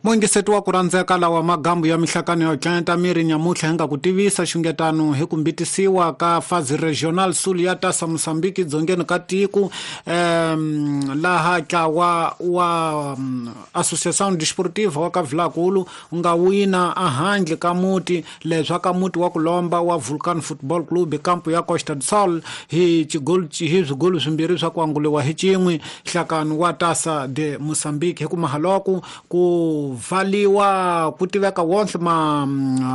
Muingiseti wa ku rhandzeka lawa magambu ya mihlakano yo tlenta miri nyamutlha hi nga ku tivisa xungetano hi ku mbitisiwa ka fazi regional sul ya tasa Mosambiki dzongeni ka tiko laha ntlawa wa Associação Desportiva wa ka Vilakulu u nga wina ehandle ka muti leswa ka muti wa ku lomba wa Vulcan Football Club kampu ya Costa do Sol hi chigolu hi swigolu swimbirhi swa ku anguliwa hi cin'we nhlakano wa tasa de Mosambiki hi ku mahaloko ku valiwa ku tiveka wonhle ma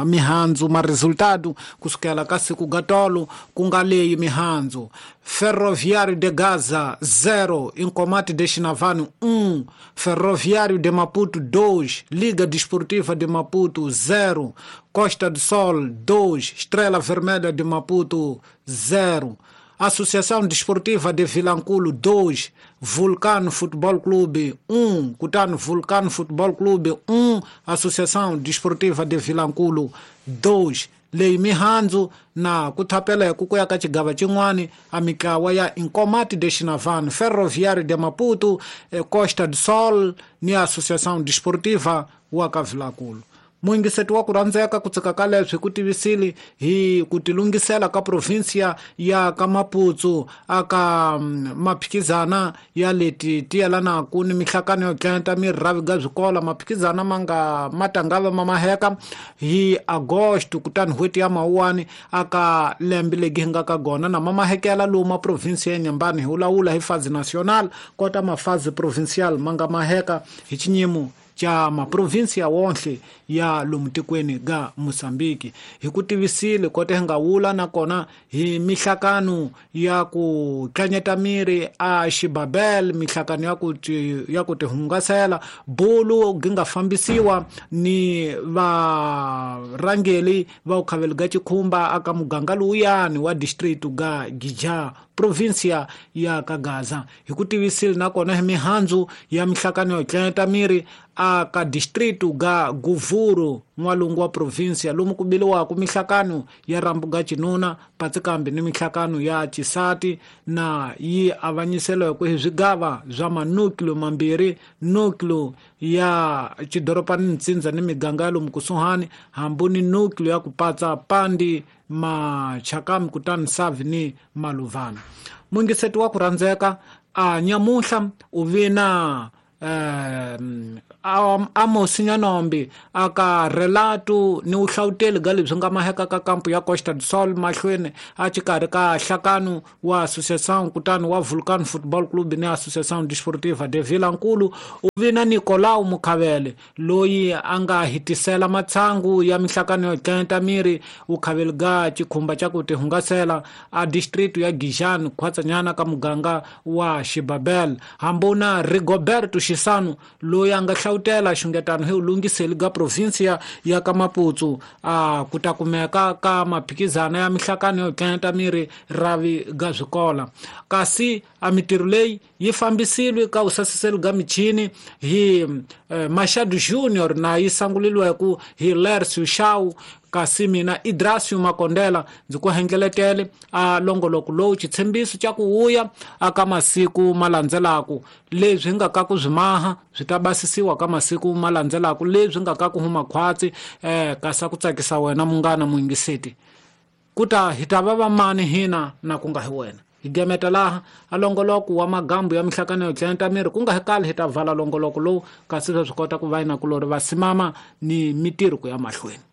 mihandzu ma resultado kusukela ka siku gatolo ku nga leyi mihandzu Ferroviário de Gaza 0 Incomate de Xinavane 1 Ferroviário de Maputo 2 Liga Desportiva de Maputo 0 Costa do Sol 2 Estrela Vermelha de Maputo 0 Associação Desportiva de Vilanculo 2 Vulcano Futebol Clube 1 Kutano Vulcano Futebol Clube 1 Associação Desportiva de Vilanculo 2 leyi mihandzu na ku thapela ku ya ka xigava xin'wani a mitlawa ya Incomate de Xinavane Ferroviário de Maputo Costa do Sol ni Associação Desportiva wa ka Vilanculo. Muingiseti wa ku rhandzeka ku tsika ka leswi ku tivisile hi ku tilungisela ka provinsia ya ka Maputo aka maphikizana ya leti ti yelanaka ni mihlakano yo tlenta mirhavi ga swikolo maphikizana ma nga ma tangava ma maheka hi Agosto kutani n'hweti ya Mawuwani aka lembe legi hi nga ka gona na ma mahekela lowu ma provinsia ya Nyambani hi wulawula hi fazi national kota mafazi provincial ma nga maheka hi xinyimo xa maprovinsia wonhle ya lomu tikweni ga Mosambiki hi ku tivisile kota hi nga wula nakona hi mihlakano ya ku tlanyeta miri a xibabel mihlakano ya ku tihungasela bulu gi nga fambisiwa ni varhangeli va ukhaveli ga chikhumba aka muganga lowuyani wa district ga Gija provinsia ya ka Gaza hi ku tivisile nakona hi mihandzu ya mihlakano yo tlanyeta miri aka district ga Guvuru n'walungu wa provinsia lomu ku biliwaka mihlakano ya rambu ga cinuna patsikambi ni mihlakano ya cisati na yi avanyiseliweke hi swigava swa manucleo mambirhi nucleo ya xidorobani ntsindza ni miganga ya lomu kusuhani hambi ni nucleo ya ku patsa pandi machakami kutani savi ni maluvana. Muingiseti wa ku rhandzeka a nyamuhla u vina Amos Nyanombi aka relato ni uhlawuteli ga leswi nga maheka ka kampu ya Costa do Sol mahlweni a xikarhi ka nhlakano wa Associação kutani wa Vulcan Football Club ni Associação Desportiva de Vilanculo u vina Nicolau Mukhavele loyi a nga hitisela matshangu ya mihlakano yo tlenta miri ukhaveli ga xikhumba xa ku tihungasela a district ya Gijani khwatsanyana ka muganga wa Xibabel hambuna Rigoberto Xisano loyi a nga hlawutela xungetano hi ulungiseli ga provinsia ya ka Maputo a ku ta kumeka ka maphikizana ya mihlakano yo tlenta miri ravi ga swikola kasi a mitirho leyi yi fambisile ka usasiseli ga michini hi Machado Junior na yi sanguliliweke hi Lercio Shaw kasi mina Idrasio Makondela ndzi ku hengeletele a longoloko lowu xitshembiso xa ku wuya aka masiku ma landzelaka leswi nga ka ku swi maha swi ta basisiwa ka masiku ma landzelaka leswi nga ka ku huma khwatsi kasi ku tsakisa wena munghana muingiseti kuta hi ta va vamani hina na ku nga hi wena hi gemeta laha a longoloko wa magambu ya mihlakano yo tlenta miri ku nga hi kali hi ta vala longoloko lowu kasi swi kota ku va yina kulori va simama ni mitirho ku ya mahlweni.